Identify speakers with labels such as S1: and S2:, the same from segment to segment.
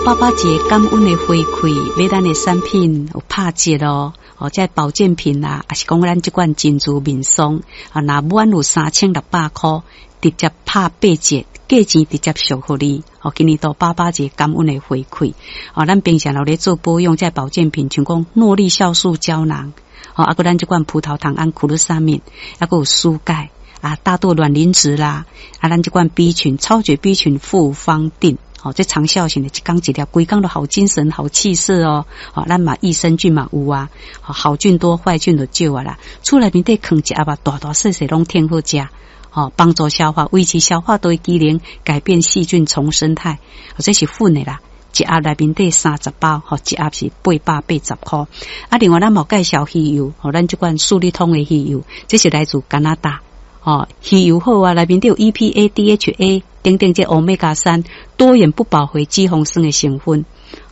S1: 爸爸節感恩的回饋，買咱的產品有拍折哦，哦，這保健品啦，抑是講咱這款珍珠面霜啊，若滿有3600箍，直接拍八折，價錢直接俗予你。哦，今年度爸爸節感恩的回饋，哦，咱平常有咧做保養，這保健品，像講諾麗酵素膠囊，哦，啊，閣咱這款葡萄糖胺苦魯沙敏，啊，閣有舒鈣啊，大豆卵磷脂啦，啊，咱這款 B 群超絕 B 群複方錠。哦，這長效型的，一工一粒，規工都好精神、好氣色哦。哦，咱嘛益生菌嘛有啊，好菌多，壞菌就少啊啦。厝內面底囥一盒啊，大大細細攏挺好食。哦，幫助消化，維持消化道的機能，改變細菌叢生態。哦，這是粉的啦，一盒內面底30包，吼，一盒是880箍。啊，另外咱嘛有介紹魚油，吼，咱這款舒利通的魚油，這是來自加拿大。哦，魚油好啊，內面底有 EPA、DHA 等等，這歐米伽三多元不飽和脂肪酸的成分。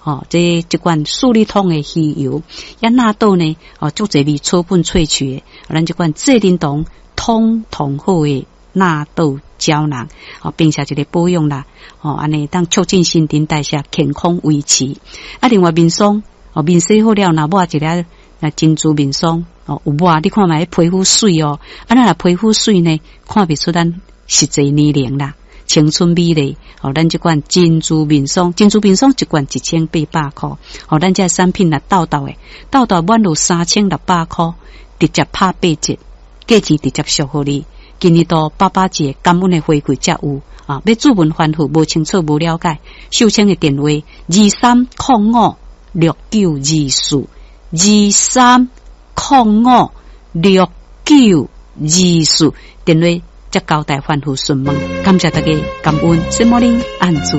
S1: 哦，這這款舒利通的魚油，啊納豆呢？哦，足濟味草本萃取的，咱這款濟啉酮通通好的納豆膠囊，哦，並且一個保養啦，哦，按呢當促進新陳代謝，健康維持。啊，另外面霜，哦，面洗好了，若抹一粒啊珍珠面霜，哦，有抹，你看覓皮膚媠哦，啊，咱若皮膚媠呢，看袂出咱實際年齡啦。青春美麗，哦，咱這款珍珠面霜，珍珠面霜一罐1800箍，哦，咱這產品若鬥鬥的，鬥鬥滿入3600箍，直接拍八折，價錢直接俗予你。今年度爸爸節感恩的回饋才有啊！欲諮詢反覆無清楚無了解，秀清的電話23056924，23056924，電話。才交代反覆詢問，感謝大家，感恩，什麼呢？按住。